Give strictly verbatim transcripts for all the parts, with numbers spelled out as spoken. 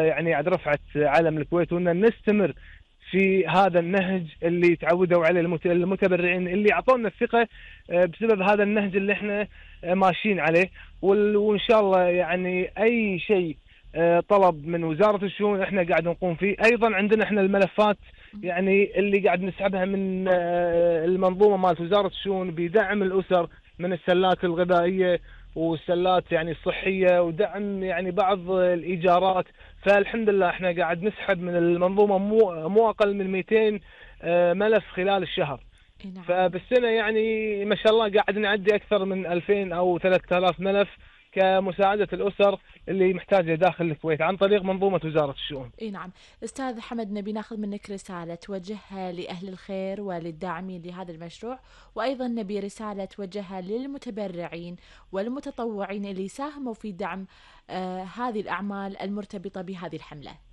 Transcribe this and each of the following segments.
يعني عاد رفعت علم الكويت، وان نستمر في هذا النهج اللي تعودوا عليه المتبرعين اللي اعطونا الثقه بسبب هذا النهج اللي احنا ماشيين عليه. وان شاء الله يعني اي شيء طلب من وزاره الشؤون احنا قاعد نقوم فيه. ايضا عندنا احنا الملفات يعني اللي قاعد نسحبها من المنظومه مالت وزاره الشؤون بدعم الاسر من السلات الغذائيه والسلات يعني الصحيه، ودعم يعني بعض الايجارات. فالحمد لله احنا قاعد نسحب من المنظومه مو مو اقل من مئتين ملف خلال الشهر. نعم. فبالسنه يعني ما شاء الله قاعد نعدي اكثر من ألفين او ثلاثة آلاف ملف كمساعده الاسر اللي محتاجه داخل الكويت عن طريق منظومه وزاره الشؤون. اي نعم. استاذ حمد، نبي ناخذ منك رساله توجهها لاهل الخير وللداعمين لهذا المشروع، وايضا نبي رساله توجهها للمتبرعين والمتطوعين اللي ساهموا في دعم آه هذه الاعمال المرتبطه بهذه الحمله.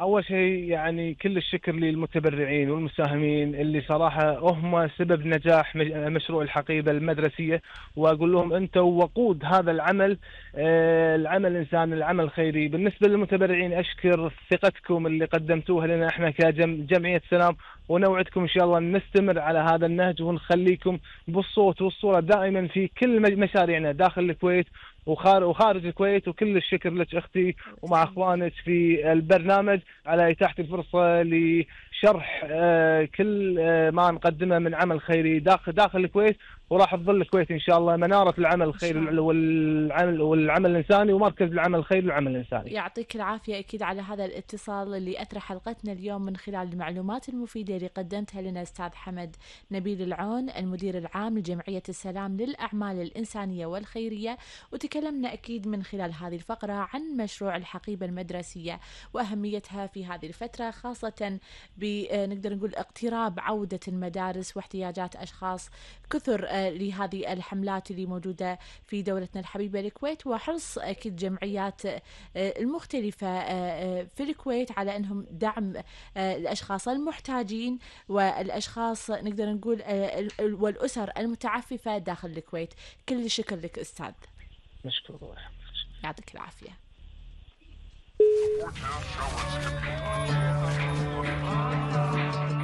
أول شيء يعني كل الشكر للمتبرعين والمساهمين اللي صراحة هم سبب نجاح مشروع الحقيبة المدرسية، وأقول لهم أنتم وقود هذا العمل، العمل الإنساني، العمل الخيري. بالنسبة للمتبرعين أشكر ثقتكم اللي قدمتوها لنا إحنا كجمعية سلام، ونوعدكم إن شاء الله نستمر على هذا النهج ونخليكم بالصوت والصورة دائما في كل مشاريعنا داخل الكويت وخارج الكويت. وكل الشكر لك أختي ومع أخوانك في البرنامج على إتاحة الفرصة لشرح كل ما نقدمه من عمل خيري داخل داخل الكويت، وراح تظل الكويت إن شاء الله منارة العمل الخيري والعمل والعمل الإنساني ومركز العمل الخيري والعمل الإنساني. يعطيك العافية أكيد على هذا الاتصال اللي أثرى حلقتنا اليوم من خلال المعلومات المفيدة اللي قدمتها لنا أستاذ حمد نبيل العون، المدير العام لجمعية السلام للأعمال الإنسانية والخيرية. وتكلمنا أكيد من خلال هذه الفقرة عن مشروع الحقيبة المدرسية وأهميتها في هذه الفترة، خاصة بنقدر نقول اقتراب عودة المدارس واحتياجات أشخاص كثر لهذه الحملات اللي موجودة في دولتنا الحبيبة الكويت، وحرص أكيد جمعيات المختلفة في الكويت على أنهم دعم الأشخاص المحتاجين والأشخاص نقدر نقول والأسر المتعففة داخل الكويت. كل الشكر لك أستاذ. مشكور. يعطيك العافية.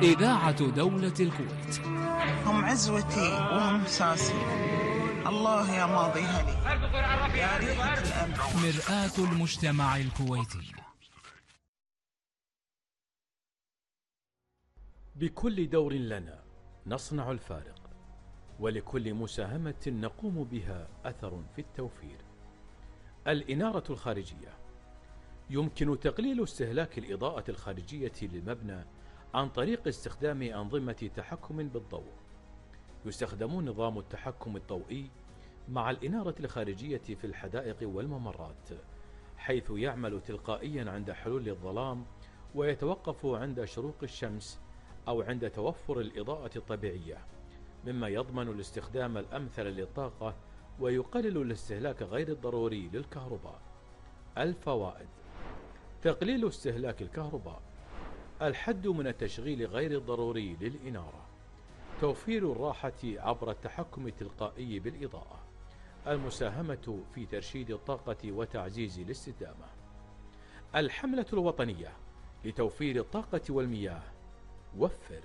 إذاعة دولة الكويت. هم عزوتي وهم ساسي، الله يا ماضيها لي يا ريحة الأمن. مرآة المجتمع الكويتي. بكل دور لنا نصنع الفارق، ولكل مساهمة نقوم بها أثر في التوفير. الإنارة الخارجية: يمكن تقليل استهلاك الإضاءة الخارجية للمبنى عن طريق استخدام أنظمة تحكم بالضوء. يستخدم نظام التحكم الضوئي مع الإنارة الخارجية في الحدائق والممرات، حيث يعمل تلقائيا عند حلول الظلام ويتوقف عند شروق الشمس أو عند توفر الإضاءة الطبيعية، مما يضمن الاستخدام الأمثل للطاقة ويقلل الاستهلاك غير الضروري للكهرباء. الفوائد: تقليل استهلاك الكهرباء، الحد من التشغيل غير الضروري للإنارة، توفير الراحة عبر التحكم التلقائي بالإضاءة، المساهمة في ترشيد الطاقة وتعزيز الاستدامة. الحملة الوطنية لتوفير الطاقة والمياه. وفر